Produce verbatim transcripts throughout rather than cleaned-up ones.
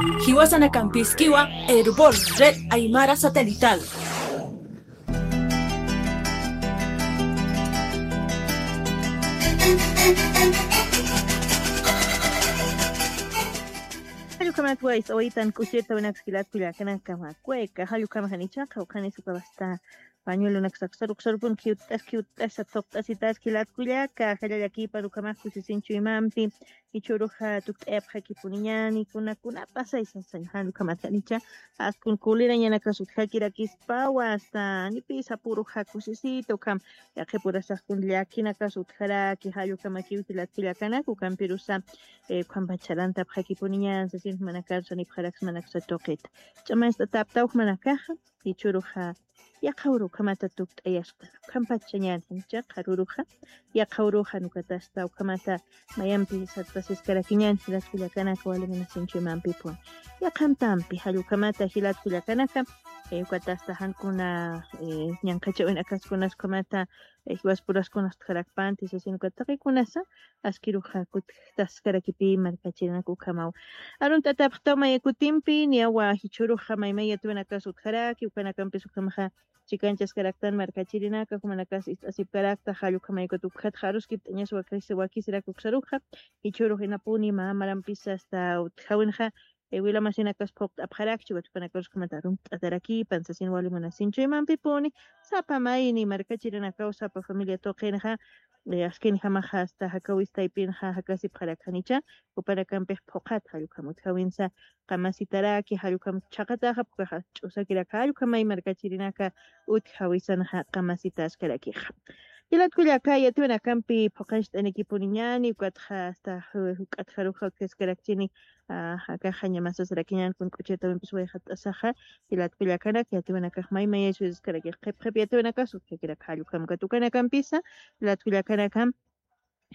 Jiwasanakampïskiwa Erbol Red Aymara Satelital. Jallukhamat ways, awayitan k'uchirta winaks jilat kullakanaka, makweka, jallukhamajanicha, qawqhanis ukawasta pañuelonaksa saruksarupunki utt'aski utt'asa thuqt'asitas jilat kullaka, jallallakïpan ukhamax kusisin chuymampi, jichhüruxa tukt'ayapxakipuniñäni, kuna kuna pasaysa saña, jallukhamat janicha, askun kulirañanakas utjakirakispawa, hasta nipis apüruxa kusisita, ukham yaqhipurasax kun llakinakas utjaraki, jallukamakiw jilat kullakanak, ukampirusa, eh, ukhampach sarantapxakipuniñän, sasin jumanakar sanipxaraksmanaksa tuqita. Ch'amanst'ataptaw jumanakaxa, jichhüruxa, yaqha uru ukhamata tukt'ayaspa. Ukhampach sañäni, janicha qhar uruxa, yaqha uruxa, ukatasta ukhamata mayampi sartasiskarakiñäni, jilat kullakanaka, wali munasiñ chuymampipuni. Yaqhantampi, jallukhamata, jilat kullakanaka, eh, ukatasta jan kuna, eh, ñanqhachäwinakas kunas ukhamata, eh, jiwaspuraskunas utjarakpanti, sasin ukat taqikunasa, askiruxa kutjtaskarakipï markachirinaka ukhamaw. Arunt'atapxtaw maya kutimpi, niyawa jichhüruxa maymay yatiyäwinakas utjaraki, ukanakampis ukhamaxa chikanchaskaraktan markachirinaka, jumanakas ist'asipkarakta, jallukhamay ukat ukxatxa aruskipt'añas wakis-, wakisirak uksaruxa, jichhürux inapuni mä marampisa hasta utjäwinxa, eh, wila masinakas phuqt'apxarakchi, ukat jupanakarus ukhamat arunt'atarakïpan, sasin wali munasiñ chuymampipuni, sapa mayni markachirinakaw, sapa familia tuqinxa, eh, askinjamaxa hasta jakawis taypinxa jakasipxarakxanicha, jupanakampix phuqhat, jallukhamut jawinsa qamasitaraki, jallukhamut chhaqataxa, phuqhaxa ch'usakirak, jallukhamay markachirinaka utjawisanxa qamasitäskarakixa. Jilat kullaka, yatiyäwinakampi phuqhañcht'anikipuniñäni, ukatxa hasta, eh, juk'atxaruxa utjaskarakchini, ah, akaxa ñamasasarakiñän kun k'uchirtawimpis wayxat'asaxa, jilat kullakanaka, yatiyäwinakax maymay yatiyäwiskarakix qhip qhip yatiyäwinakas utjakirak, jallukhamkat ukanakampisa, jilat kullakanaka,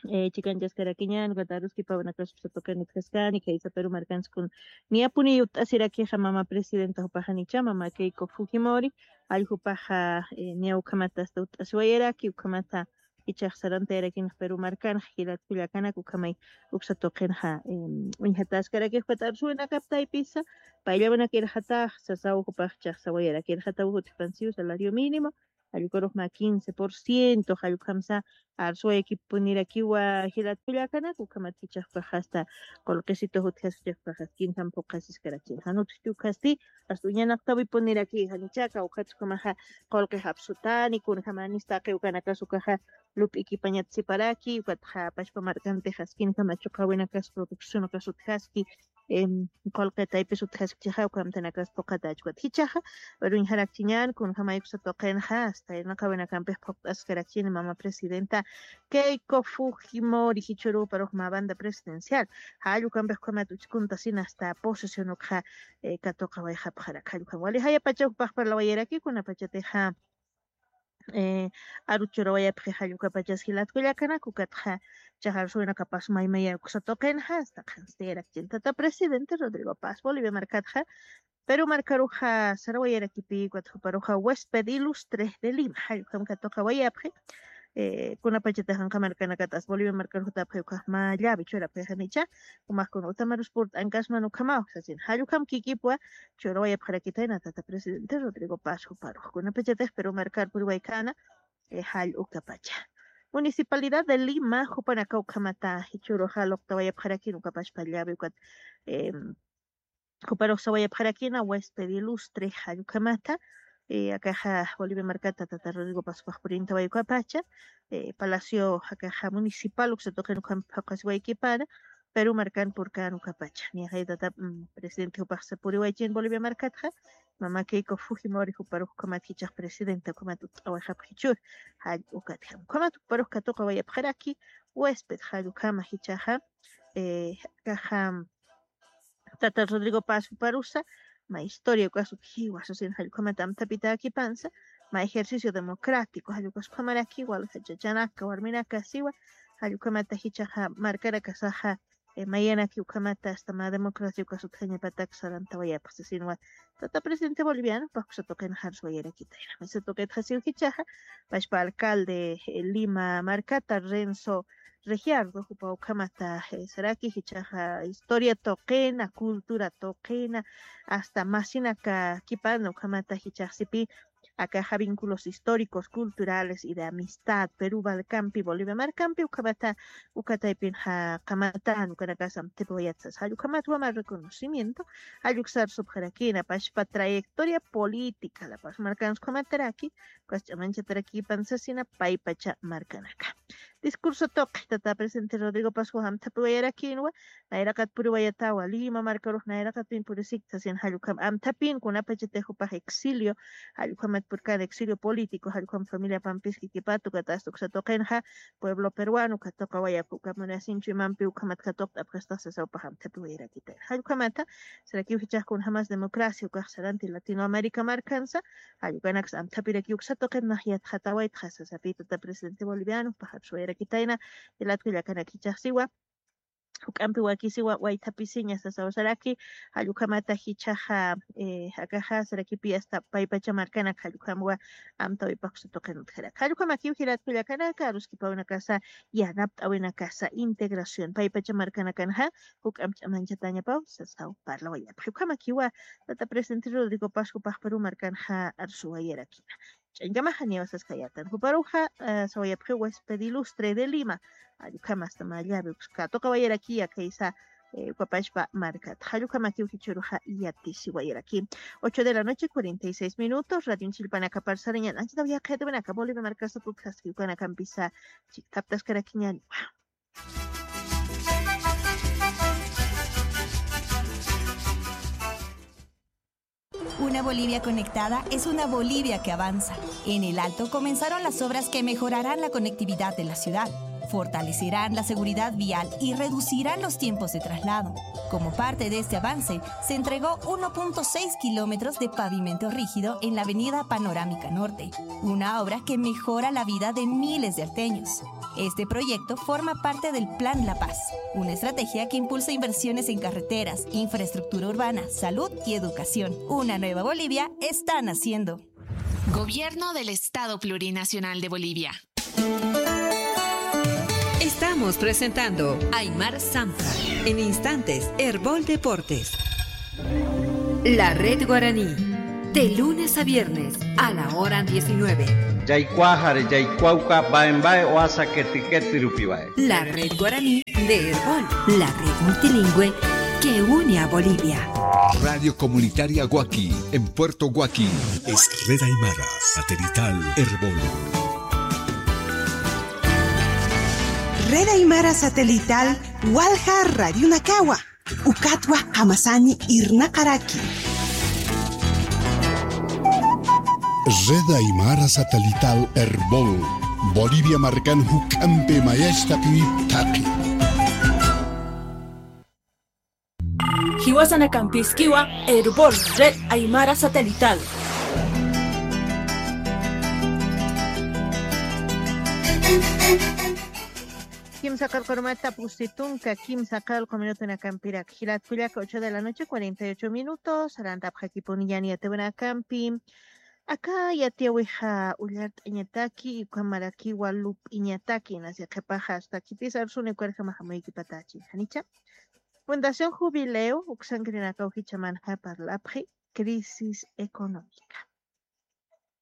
eh, chikanchaskarakiñän, ukat aruskipawinakas uksa tuqin utjaskani, khaysa Perú markans kun niyapuni utt'asirakixa mama presidenta jupaxanicha, mama Keiko Fujimori, jall jupaxa, eh, niya ukhamata hasta utt'asiwayaraki, ukhamata jichhax sarantayarakinxa Perú markanxa, jilat kullakanak, ukhamay uksa tuqinxa, em, uñjatäskarakix, ukat arsuwinakap taypisa, payllawinak irxatax sasaw jupax chhaxsawayaraki, irxataw jutjpansiw salario mínimo, jallukharux mä quince por ciento, jallukhamsa arsuwayakipunirakiwa jilat kullakanak, ukhamat jichhax jupax hasta qullqisitu jutjaski, jichhax jupax askinjam phuqhasiskarakchi. Jan utjchi ukhasti, hasta uñanaqtawipuniraki, janichaka, ukhatsa ukhamaxa qullqix apsutani, kunjamänis taqi ukanakas ukaxa lup'ikipañatsiparaki, ukatxa pachpa markantix askinjama chuqawinakas produccionakas utjaski, em, qullqi taypis utjaskchixa, ukhamtanakas phuqhatächi, ukat jichhaxa, pero uñjarakchiñän, kunjamay uksa tuqinxa, hasta irnaqawinakampix phuqt'askarakchini mama presidenta Keiko Fujimori, jichhüruparux mä banda presidencial, jall ukampix ukhamat uchkuntasina hasta posesión ukxa, eh, katuqawayxapxarak, jall ukham wali jayapachaw jupax parlawayaraki, kunapachatixa, eh, aru churawayapxi jall ukapachas jilat kullakanak, ukatxa chhaxa arsuwinakapas maymaya uksa tuqinxa, hasta qhanstiyarakchin tata presidente Rodrigo Paz, Bolivia markatxa, Perú markaruxa sarawayarakipi, ukat juparuxa huésped ilustre de Lima, jall ukham katuqawayapxi, eh, kunapachatix janqa markanakatas Bolivia markar jutapxi, ukax mä llavi churapxi, janicha, jumax kun utamarus purt'ankasman ukhamaw, sasin, jall ukham kikipwa churawayapxarakitayna tata presidente Rodrigo Paz juparux, kunapachatix Perú markar puriwaykana, eh, jall ukapacha. Municipalidad de Lima, jupanakaw ukhamata, jichhüruxa luqtawayapxarakin ukapachpa llavi ukat, em, juparux sawayapxarakina, huésped ilustre, jall ukhamata, eh, akaxa Bolivia markata tata Rodrigo Paz jupax purintaway ukapacha, eh, Palacio akaxa Municipal uksa tuqin ukham phuqhasiwaykipana, Perú markan purkan ukapacha. Niya jay tata, mm, presidente jupax sapuriwaychin Bolivia markatxa, mama Keiko Fujimori juparux ukhamat jichhax presidenta ukhamat utt'awayxapxi jichhür, jall ukatjam. Ukhamat juparux katuqawayapxaraki, huésped jall ukhama jichhaxa, eh, akaxa, tata Rodrigo Paz juparusa, mä historia ukas utjiwa, sasin jall ukhamat amthapitäkipansa, mä ejercicio democrático, jall ukas ukhamaraki, walja chachanaka, warminaka siwa, jall ukhamata jichhaxa markanakasaxa, eh, mayanaki ukhamata asta mä democracia ukas utjañapatak sarantawayapxsi sinwa. Tata presidente boliviano pakusa tuqin jarsuwayarakitayna. Misa tuqitxa siw jichaxa, pashpa alcalde, eh, Lima markata Renzo Regiardo, jupa ukhamata, eh, saraki jichaxa historia tuqina, cultura tuqina, asta masinaka kipana ukhamata jichaxsipi, akaxa vínculos históricos, culturales y de amistad, Perú, Balcampi, Bolivia, Marcampi, ukhamata, ukataypin ja, qamatan, ukanakasam, tipiwayatsas, jallukhamat wama reconocimiento, jalluksar subjarakina, pashpa trayectoria política, la paz marcans ukhamataraki, ukas ch'amanchataraki pansasina, paypacha markanaka. Discurso tuqi, tata presidente Rodrigo Pascu amthapiwayarakinwa, nayraqat puriwayatawa, Lima markarux nayraqatpin purisikta, sin jallukham amthapin, kunapachatix jupax exilio, jallukhamat purkan exilio político, jallukham familia pampiski kipatu, katasta uksa tuqinxa, pueblo peruano, katuqa wayapxi, uka munasinchu imampi, ukhamat katuqt'apxastax sasa upax amthapiwayarakita. Jallukhamata, sarakiw jichax kunjamas democracia, ukax saranti Latinoamérica markansa, jallukanakas amthapiraki uksa tuqin nax yatxatawaytxa, sasapi tata presidente boliviano, paxar suwayarakitayna, jilatku llakanaki jichaxsiwa, juk'ampi wakisiwa waythapisiña sasawasaraki, jallukhamata jichaxa, eh, akaxa sarakipi asta paypacha markanak jallukhamwa amtawipakusa tuqin utjaraki. Jallukamakiw jilatku llakanaka, aruskipawnakasa, yanapt'awinakasa, integración, paypacha markanakanxa, juk'amp ch'amanchatañapaw, sasaw parlawayapxi. Jallukamakiwa, tata presidente Rodrigo Pascu paxparu markanxa, arsuwayarakina. Ch'añkamaxa niyawasaskayatan. Juparuxa, eh, sawayapxiw huésped ilustre de Lima. Jallukhamasta mä llave, uks katuqawayarakiya kaysa, eh, ukapachpa markat. Jallukamakiw jichharuxa yatisiwayaraki. Ocho de la noche, cuarenta y seis minutos. Radio Chilpanaka parsariñan. Anchita wiyaqhayatiwanaka Bolivia markasapuk jaskiw kanakampisa chikthaptaskarakiñaniwa. Una Bolivia conectada es una Bolivia que avanza. En El Alto comenzaron las obras que mejorarán la conectividad de la ciudad, fortalecerán la seguridad vial y reducirán los tiempos de traslado. Como parte de este avance, se entregó uno punto seis kilómetros de pavimento rígido en la avenida Panorámica Norte, una obra que mejora la vida de miles de alteños. Este proyecto forma parte del Plan La Paz, una estrategia que impulsa inversiones en carreteras, infraestructura urbana, salud y educación. Una nueva Bolivia está naciendo. Gobierno del Estado Plurinacional de Bolivia. Estamos presentando Aymar Sampa. En instantes, Erbol Deportes. La Red Guaraní, de lunes a viernes, a la hora diecinueve. Jaykuaxari, jaykuawka, baen bae, oasa keti keti rupiwae. La Red Guaraní de Erbol, la red multilingüe que une a Bolivia. Radio Comunitaria Guaki, en Puerto Guaki. Es Red Aymara, satelital Erbol. Red Aymara Satelital, walja Radio Nakawa. Ukatwa Hamasani Irnakaraki. Red Aymara Satelital Erbol, Bolivia markan juk'ampi mayachtapi taqi. Jiwasanakampiskiwa Erbol, Red Aymara Satelital. Kimsa qillqurumata pusi tunka, kimsa qillqu minutunakampirak. Jilatkullaka, ocho de la noche, cuarenta y ocho minutos. Sarantapxakipuni yatiyawinakampi. Aka yatiyawixa ullart'añataki, ukhamarakiwa lup'iñataki, nasi qhipaxa, asta khitisa arsuni ukarjama jamuykipatachi. Janicha. Fundación Jubileo, uksankirinakaw jichhamanxa parlapxi, crisis económica.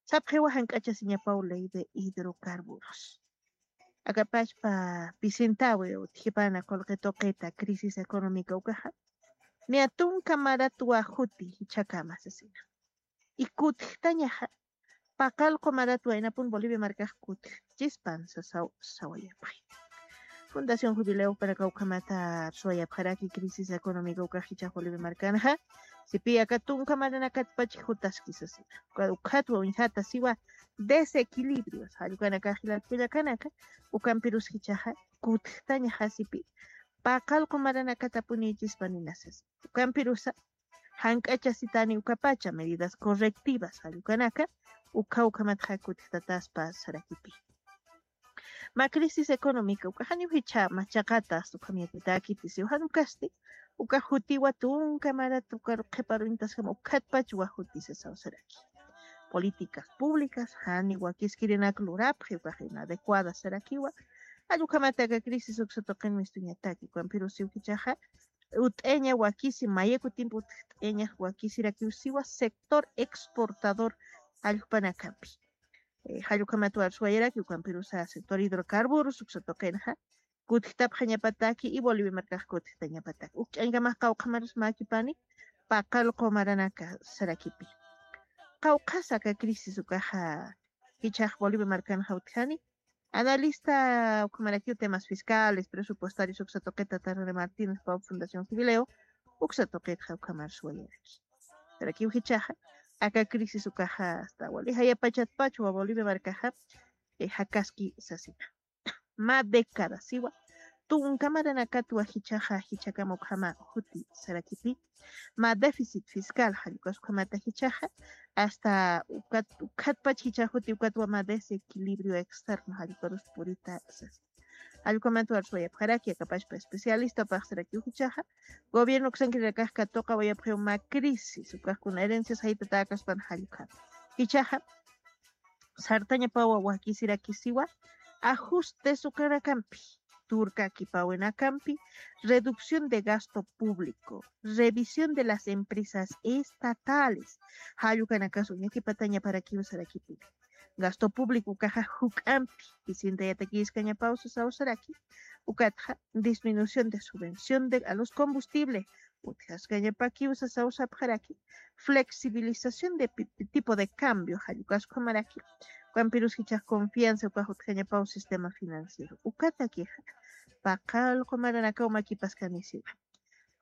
Sapxiwa jank'achasiñapaw ley de hidrocarburos. Akapachpa pisintawi utjipana qullqi tuqita crisis económica ukaxa. Niya tunka maratwa juti jichhakama sasina. Y kutjtañaxa paqallqu maratwa inapun Bolivia markax kutjchispan sasaw sawayapxi. Fundación Jubileo panaka ukhamata suwayapxaraki crisis económica ukax jichhax Bolivia markanxa. Sipi aka tunka maranakatpach jutaski sasina. Uka-, ukhatwa uñjata siwa desequilibrios. Jallkanaka jilatkullakanaka ukampirus jichhaxa kutjtañaxa sipi paqallqu maranakatapunïchispa nina sasa. Ukampirusa jank'achasitani ukapacha medidas correctivas jallkanaka, ukha ukhamatxa kutjtataspa sarakipi. Ma crisis económica uka janiw jichha machaqata asta ukham yatitäkiti siw jan ukasti, uka jutiwa tunka marat ukar qhiparuñtaskama ukhatpach wa juti sasaw saraki. Políticas públicas jani wakiskirinak lurapxi ukax inadecuada sarakiwa. Jall ukhamat aka crisis uksa tuqin mistuñataki ukampirus siw jichhaxa ut'eña wakisi mayaku tiempo ut'eña wakisirakiw siwa sector exportador jallpanakampi. Jallukhamat warsuwayaraki ukampirusa sector hidrocarburos uksa tuqinxa kutjtapxañapataki y Bolivia markax kutjtañapataki ukch'añkamax qawqhamarus makipani paqal qumaranaka sarakipi. Qawqhasa aka crisis ukaxa jichhax Bolivia markanxa utjani analista ukhamarakiw temas fiscales presupuestarios uksa tuqita tarrera martínez pau fundación jubileo uksa tuqitxa ukhamar suwayaraki. Sarakiw jichhaxa aka crisis ukaxa asta wali jayapachatpach wa Bolivia markaxa jakaski sasina. Ma década siwa tunka maranakatwa jichhaxa jichhakama ukhama juti sarakipi. Ma déficit fiscal jallukasukhamata jichhaxa asta ukat ukhatpach jichha juti ukatwa ma desequilibrio externo jallukarus purita sasa. Jallukhamat warsuwayapxaraki akapachpa especialista paxsarakiw jichhaxa gobierno uksankirirakax katuqawayapxiw ma crisis ukaxkuna herencias jaytatäkaspan jallukhama jichhaxa sartañapawa wakisirakisiwa ajustes ukanakampi turkakipawinakampi reducción de gasto público, revisión de las empresas estatales jallukanakas uñakipatañaparakiw sarakipi. Gasto público ukaxa juk'ampi pisintayatakiskañapaw sasaw saraki. Ukatxa disminución de subvención de a los combustibles utjaskañapakiw sasaw sapxaraki. Flexibilización de tipo de cambio jallukasukhamaraki. Ukampirus jichhax confianza ukax utjañapaw sistema financiero ukatakixa paqal qumaranakaw makipaskanisiwa.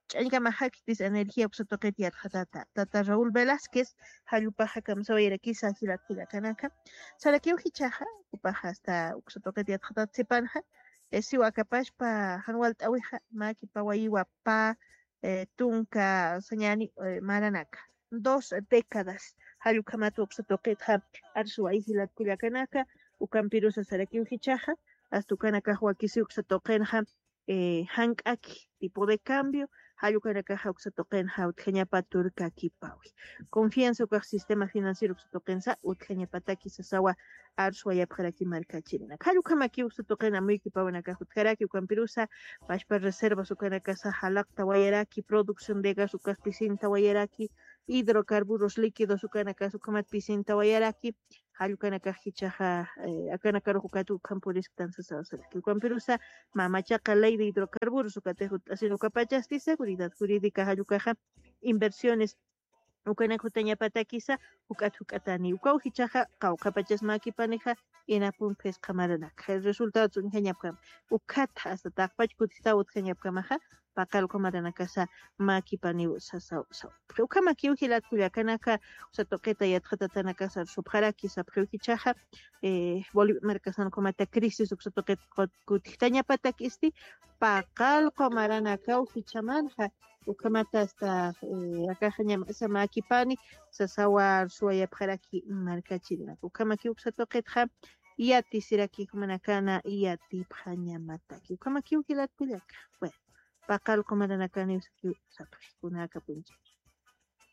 Ch'añkamaxaktis energía uksa tuqit yatxatata tata Raúl Velásquez jallupaxa kamsawayarakisa jilat kullakanaka. Sarakiw jichhaxa upaxa asta uksa tuqit yatxatat sipanxa siwa akapachpa jan walt'awixa makipawayiwa pa tunka sañani maranaka dos décadas jallukhamat uksa tuqitxa arsuwayi jilat kullakanaka. Ukampirusa sarakiw jichhaxa asta ukanakax wakisi uksa tuqinxa jank'aki tipo de cambio jallukanakaxa uksa tuqinxa utjañapa turkakipawi. Confianza ukax sistema financiero uksa tuqinsa utjañapataki sasawa arsuwayapxaraki markachirinak jallukhamaki uksa tuqin amuykipawinakax utjaraki ukampirusa pachpa reservas ukanakasa jalaqtawayaraki producción de gas ukas pisintawayaraki hidrocarburos líquidos ukanakas ukhamat pisintawayaraki. Jallkanakax jichhaxa akanakarux ukat ukham purisktan sasaw saraki ukampirusa mamachaqa ley de hidrocarburos ukatix utt'asin ukapachasti seguridad jurídica jallukaxa inversiones ukanak jutañapatakisa juk'at juk'atani ukaw jichhaxa qawqhapachas makipanixa inapun phisqa maranaka resultado uñjañapkama. Ukhatxa asta taqpach kutitaw utjañapkamaxa paqal qumaranakasa makipaniw sasaw saw. Ukhamakiw jilat kullakanaka uksa tuqita yatxatatanakasa arsupxaraki sapxiw jichhaxa bolivia markasan ukhamata crisis uksa tuqita kutitañapatak isti paqal qumaranakaw jichhamanxa. Ukhamata asta akaxañamasa makipani sasawa arsuwayapxaraki markachirinaka ukhamakiw uksa tuqitxa yatisiraki jumanakana yatipxañamataki ukhamakiw jilat kullaka. Bueno, paqal qumaranakaniw sakiw sapxi kunaka puncha.